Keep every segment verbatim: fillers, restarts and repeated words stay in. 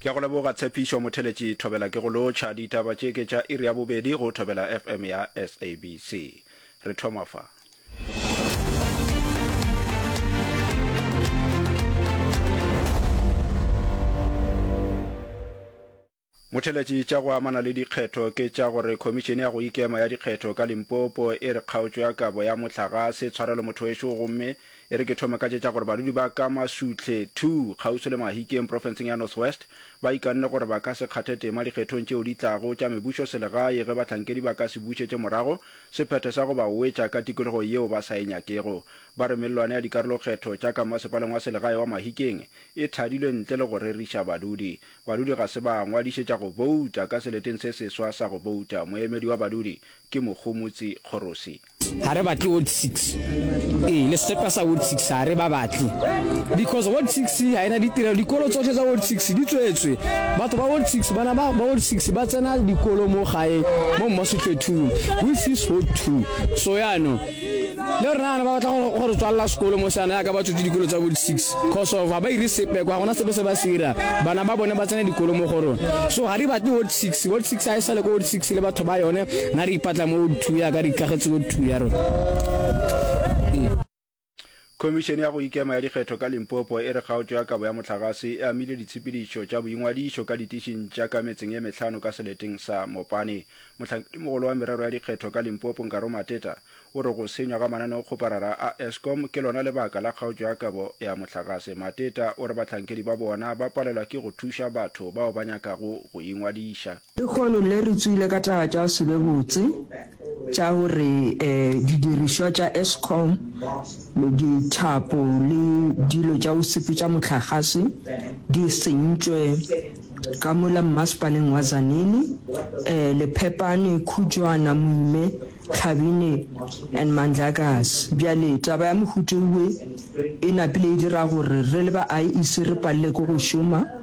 Ke a go leboga Tshepišo Motheletši Thobela ke go lotšha. Ditaba tše ke tša iri ya bobedi go Thobela F M ya S A B C. Re thoma fa. Motheletši tša go amana le dikgetho ke tša gore Khomišene ya go Ikema ya Dikgetho ka Limpopo e re kgaotšo ya kabo ya mohlagase tshwarelo motho wešo gomme e re ke thome ka tše tša gore badudi ba ka Masuhle two kgauswi le Mahikeng profenseng ya North West ba ikanne gore ba ka se kgathe tema dikgethong tšeo di tlago tša mebušo selegae ge bahlankedi ba ka se bušetše morago sephetho sa go ba wetša ka tikologo yeo ba sa e nyakego. Ba re mellwane ya dikarolokgetho tša ka masepaleng wa selegae wa Mahikeng e thadilwe ntle le go reriša badudi. Badudi ga se ba ngwadišetša go bouta ka seleteng se seswa sa go bouta. Moemedi wa badudi ke Mogomotsi Kgorosi. Ga re batle ward six, ee, le sepe sa ward six ga re ba batle because ward six ga ena ditirelo. Dikolo tsotlhe tsa ward six di tswetswe. Batho ba ward six, bana ba ward six ba tsena dikolo mo gae mo Mmosetlwe two, which is ward two. So yaanong le rena ba batla go re tswalela sekolo mo seana yaka ba tswetse dikolo tsa ward six cause of ga ba ire sepe kwa, gona sepe se ba se ira. Bana ba bone ba tsena dikolo mo go rona, so ga re batle ward six. Ward six ga e sale ko ward six le batho ba yone. Na re ipatla mo ward two yaka re ikagetse ward two ya rona. Khomišene ya go Ikema ya Dikgetho ka Limpopo e re kgaotšo ya kabo ya mohlagase e amile ditshepedišo tša boingwadišo ka ditišing tša ka metseng ye mehlano ka seleteng sa Mopani. Mohlankedimogolo wa merero ya dikgetho ka Limpopo Nkaro Mateta o re go senywa ga mananeokgoparara a Eskom ke lona lebaka la kgaotšo ya kabo ya mohlagase. Mateta o re bahlankedi ba bona ba palelwa ke go thuša batho bao ba nyakago go ingwadiša. Lehono le re tswile ka taba tša go se be botse tša gore didirišwa tša Eskom, dithapo le dilo tša go sepetša mohlagase di sentšwe ka mola mmasepaleng wa Tzaneen, Lephepane, Khujwana, Moime, Tlhabine and Mandlakazi. Bjale taba ya mohuta we e napile e dira gore re le ba I E C re palele ke go šoma.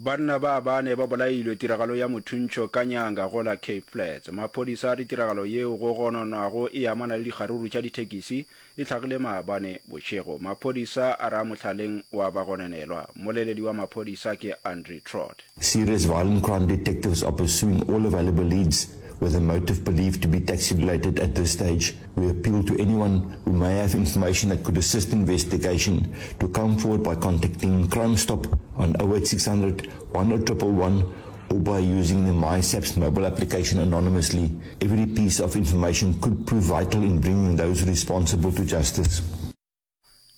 Banna ba bane ba bolailwe tiragalo ya mothuntšho ka nyanga go la Cape Flats. Maphodisa a re tiragalo yeo go gononwago e amana le dikgaruru tša dithekisi e hlagile maabane bošego. Maphodisa a ra mohlaleng wa bagononelwa. Mmoleledi wa maphodisa ke Andre Trott. Serious violent crime detectives are pursuing all available leads with a motive believed to be taxi-related at this stage. We appeal to anyone who may have information that could assist investigation to come forward by contacting Crime Stop on oh eight six hundred one oh one one or by using the MySAPS mobile application anonymously. Every piece of information could prove vital in bringing those responsible to justice.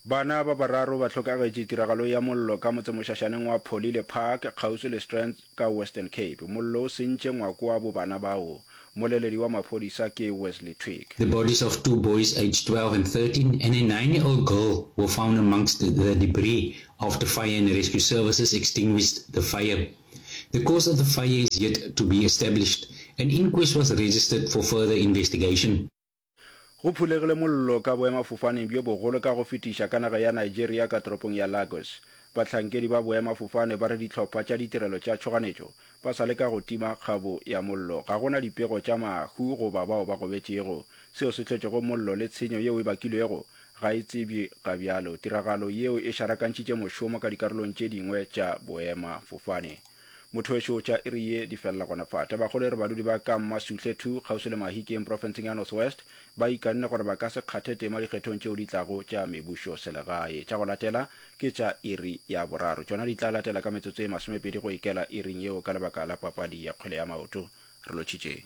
Bana ba bararo ba hlokagetše tiragalo ya mollo ka motsemošašaneng wa Pholile Park kgauswi le Strands ka Western Cape. Mollo o sentše ngwako wa bo bana bao. Mmoleledi wa maphodisa ke Wesley Twigg. The bodies of two boys aged twelve and thirteen and a nine-year-old girl were found amongst the debris after fire and rescue services extinguished the fire. The cause of the fire is yet to be established. An inquest was registered for further investigation. Go phulegile mollo ka boemafofaneng bjo bogolo ka go fetiša ka naga ya Nigeria ka toropong ya Lagos. Bahlankedi ba boemafofane ba re dihlopha tša ditirelo tša tšhoganetšo ba sa leka go tima kgabo ya mollo. Ga go na dipego tša mahu goba bao ba gobetšego. Seo se hlotšego mollo le tshenyo yeo e bakilwego ga e tsebje ga bjalo. Tiragalo yeo e šarakantšhitše mošomo ka dikarolong tše dingwe tša boemafofane. Motho wešo, tša iri ye di felela gona fa. Tabakgolo e re badudi ba ka Mmasuhle two kgauswi le Mahikeng profenseng ya North West ba ikanne gore ba ka se kgathe tema dikgethong tšeo di tlago tša mebušo selegae. Tša go latela ke tša iri ya boraro. Tšona di tla latela ka metsotso e masomepedi go ikela iring yeo ka lebaka la papadi ya kgwele ya maoto. Re lotšhitšeng.